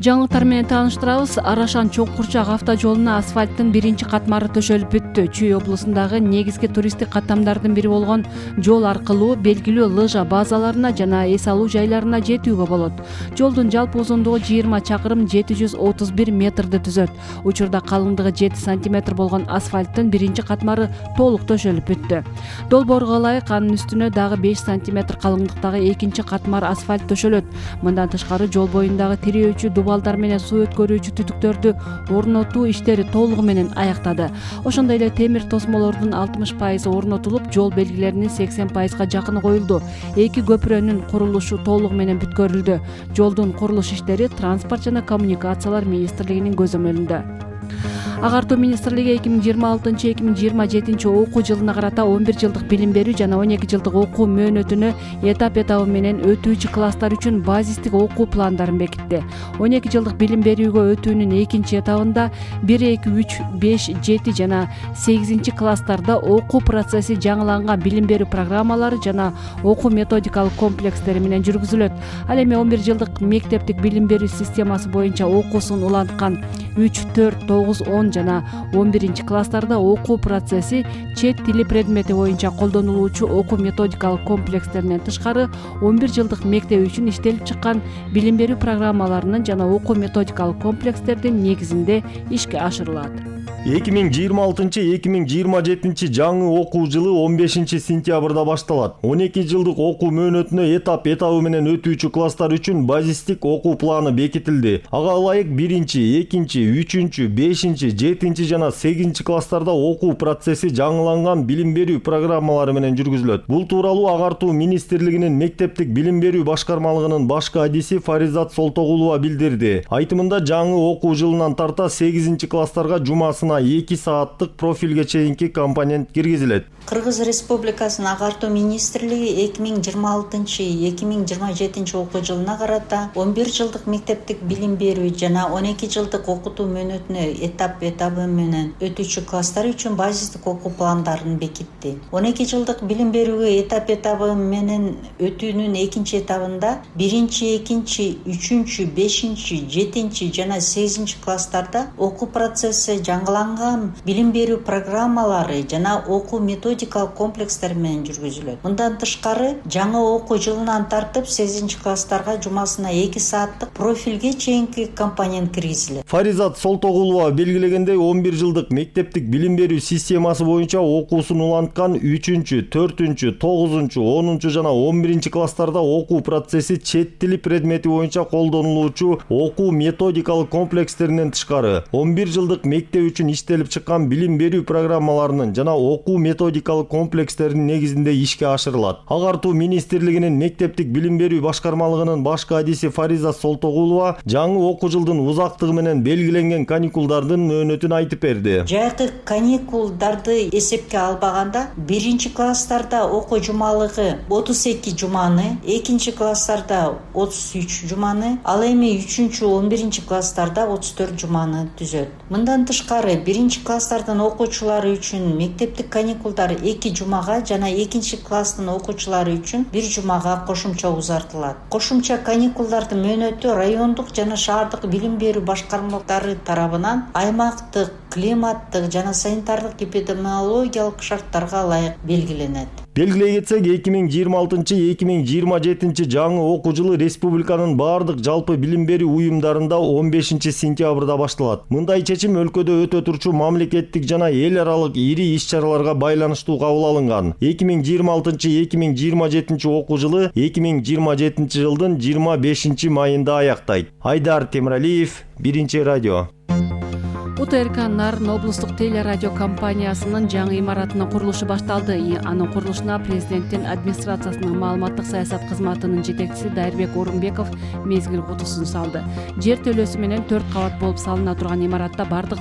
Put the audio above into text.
Жаңылыктар менен тааныштырабыз. Арашан Чоң-Курчак автожолуна асфальттын биринчи катмары төшөлүп бүттү. Чүй облусундагы негизги туристтик каттамдардын бири болгон жол аркылуу белгилүү лыжа базаларына жана эс алуу жайларына жетүүгө болот. Жолдун жалпы узундугу 20 чакырым 731 метрди түзөт. Учурда калыңдыгы 7 сантиметр болгон асфальттын биринчи катмары толук төшөлүп бүттү. Долбоорго ылайык анын үстүнө дагы 5 сантиметр калыңдыктагы экинчи катмар асфальт төшөлөт. Мындан тышкары жол боюндагы тирөөчү дубалдар менен суу өткөрүүчү түтүктөрдү орнотуу иштери толугу менен аяктады. Ошондой эле темир тосмолордун 60% орнотулуп, жол белгилеринин 80%га жакыны коюлду. Эки көпүрөнүн курулушу толугу менен бүткөрүлдү. Жолдун курулуш иштери Транспорт жана коммуникациялар министрлигинин көзөмөлүндө. Агартуу министрлиги 2026-2027 окуу жылына карата 11 жылдык билим берүү жана 12 жылдык окуу мөөнөтүнө этап менен өтүүчү класстар үчүн базистик окуу пландарын бекитти. 12 жылдык билим берүүгө өтүүнүн экинчи этабында 1, 2, 3, 5, 7 жана 8 класстарда окуу процесси жаңыланган билим берүү программалары жана окуу методикалык комплекстери менен жүргүзүлөт. Ал эми 11 жылдык мектептик билим берүү системасы боюнча окуусун уланткан 3, 4, 9, 10 жана 11 класстарда окуу процесси чет тили предмети боюнча колдонулуучу окуу методикалык комплекстеринен тышкары 11 жылдык мектеп үчүн иштелип чыккан билим берүү программаларынын жана окуу методикалык комплекстердин негизинде ишке ашырылат. 2026-2027 жаңы окуу жылы 15 сентябрда башталат. 12 жылдык окуу мөөнөтүнө этабы менен өтүүчү класстар үчүн базистик окуу планы бекитилди. Ага ылайык 1, 2, 3, 5, 7 жана 8 класстарда окуу процесси жаңыланган билим берүү программалары менен жүргүзүлөт. Бул тууралуу Агартуу министрлигинин мектептик билим берүү башкармалыгынын башкы адиси Фаризат Солтогулова билдирди. Айтымында жаңы окуу жылынан тарта 8 класстарга жумасына 2 сааттык профилге чейинки компонент киргизилет. Кыргыз Республикасынын Агартуу министрлиги 2026-2027 окуу жылына карата 11 жылдык мектептик билим берүү жана 12 жылдык окутуу мөөнөтүнө этабы менен өтүүчү класстар үчүн базистик окуу пландарын бекитти. 12 жылдык билим берүүгө этабы менен өтүүнүн экинчи этабында 1, 2, 3, 5, 7 жана 8 класстарда окуу процесси жаңыланган билим берүү программалары жана окуу методикалык комплекстер менен жүргүзүлөт. Мындан тышкары жаңы окуу жылынан тартып 8 класстарга жумасына 2 сааттык профилге чейинки компонент киргизилет. Фаризат Солтогулова белгилегендей 11 жылдык мектептик билим берүү системасы боюнча окуусун уланткан 3, 4, 9, 10 жана 11 класстарда окуу процесси чет тили предмети боюнча колдонулуучу окуу методикалык комплекстеринен тышкары 11 жылдык мектеп үчүн иштелип чыккан билим берүү программаларынын жана окуу методикалык комплекстеринин негизинде ишке ашырылат. Агартуу министрлигинин мектептик билим берүү башкармалыгынын башкы адиси Фаризат Солтогулова жаңы окуу жылдын узактыгы менен белгиленген каникулдардын мөөнөтүн айтып берди. Жайкы каникулдарды эсепке албаганда 1 класстарда окуу жумалыгы 32 жуманы, 2 класстарда 33 жуманы, ал эми 3-11 класстарда 34 жуманы түзөт. Мындан тышкары 1 класстардын окуучулары үчүн мектептик каникулдар 2 жумага жана 2 класстын окуучулары үчүн 1 жумага кошумча узартылат. Кошумча каникулдардын мөөнөтү райондук жана шаардык билим берүү башкармалыктары тарабынан аймактык, климаттык жана санитардык эпидемиологиялык шарттарга ылайык белгиленет. Белгилей кетсек, 2026-2027 жаңы окуу жылы республиканын бардык жалпы билим берүү уюмдарында 15 сентябрда башталат. Мындай чечим өлкөдө өтө турчу мамлекеттик жана эл аралык ири иш-чараларга байланыштуу кабыл алынган. 2026-2027 окуу жылы 2027 жылдын 25 майында аяктайт. Айдар Темиралиев, Биринчи радио. УТРК Нарын облустук телерадио компаниясынын жаңы имаратынын курулушу башталды. Анын курулушуна президенттин администрациясынын маалыматтык саясат кызматынын жетекчиси Дайырбек Орунбеков мезгил кутусун салды. Жер төлөөсү менен 4 кабат болуп салына турган имаратта бардык